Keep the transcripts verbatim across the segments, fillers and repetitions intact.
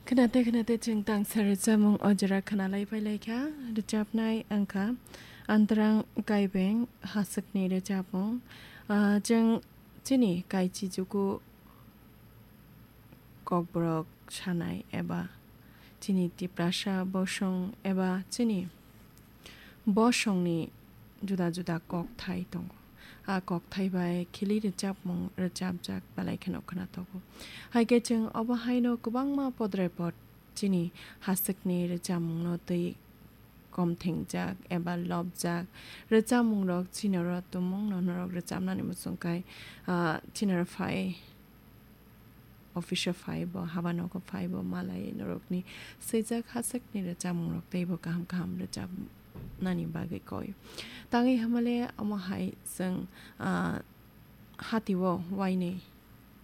Khnate khnate chwng tangsa rwchapmung o jora khna lai pai lai kha. Rwchapnai wng kha Antrang Kaibeng Haswkni rwchapmung. Ah, chwng chini kaichi juku kokborok sanai eba chini Tiprasa bosong eba chini bosongni juda juda kokthai tongo. A kokthai bai khili rwchapmung rwchapjak belai kheno khna tongo. Hai khe chwng obo haino kwbangma podre pod chini Haswkni rwchapmungno twi komthengjak eba lobjak rwchapmungrok chini oro tumungno norok rwchapnani muchung kai, ah, chini oro phai office-o phai bo, haba nogo phai bo, malai norokni swijak Haswkni rwchapmungrok teibo kaham kaham rwchapnani bagwi koi. Tangwi hamale omo hai chwng, ah, hatio wainwi,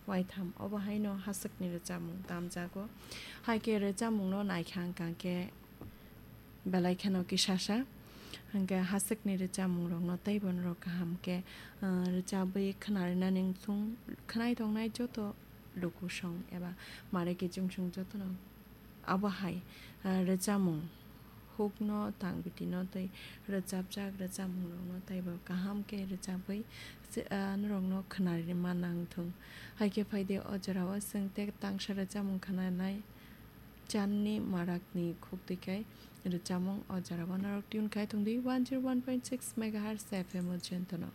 waitham obo haino Haswkni rwchapmung tamjago. Hai khe rwchapmungno naikha wngkha khe belai kheno kisasa. Hwnkhe Haswkni rwchapmungrokno teibo norok kaham khe, ah, rwchabwi khnarinani wngthung, khnai tongnai joto lukusong eba mare kichungsong jotono abo hai, ah, rwchapmung hukno tangbitino tei rwchapjak rwchapmungrokno teibo kaham khe rwchabwi se-, ah, norokno khnarinani manna wngthung. Hai khe phaidi o jorao chwng tei tangsa rwchapmung khnanai Channi Marakni khuk twi kai rwchapmung o jorao norok tune khai tongdi one zero one point six megahertz F M o Jentono.